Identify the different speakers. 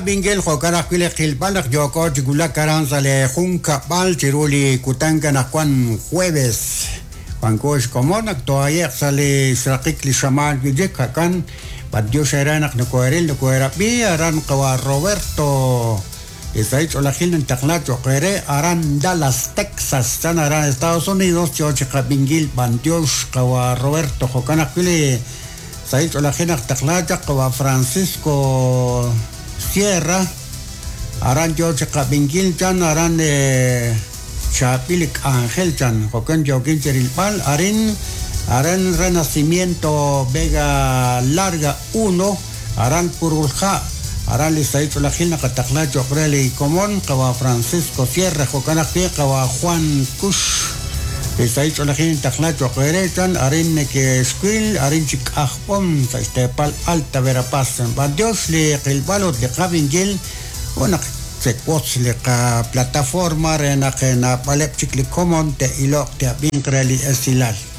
Speaker 1: Rab'inkil jo'kan ajwi' li qilb'al naq yooko chi wulak aran sa' li junkab'al chiru li kutan anaqwan jueves. Wanko xkomon naq toohaye'q sa' li xraqik li xamaan wi' chik, jo'kan b'antiox eere naq nokoheril nokoherab'i aran qawa' Roberto li sahil ch'oolejil nintaqla cho'q eere aran Dallas, Texas, chan aran Estados Unidos yo chi qab'inkil b'antiox qawa' Roberto jo'kan ajwi' li Sahil ch'oolejil naq taqla chaq qawa' Francisco Sierra, aran yoo chi qab'inkil chan aran chaab'il li k'anjel chan, jo'kan yookin chi rilb'al arin aran Renacimiento Vega Larga Uno, aran Purulha', aran li sahil ch'oolejil naqataqla cho'q re li komon qawa' Francisco Sierra, jo'kan ajwi' qawa' Juan Cux. Li sahil ch'oolejil nintaqla cho'q eere, chan, arin neke'xwil, arin chi k'ajb'om sa' xteepal Alta Verapaz. B'antiox li qilb'al ut li qab'inkil ut naq chewotz li qaplataforma re naq naab'aleb' chik li komon te'iloq te'ab'inq re li esilal.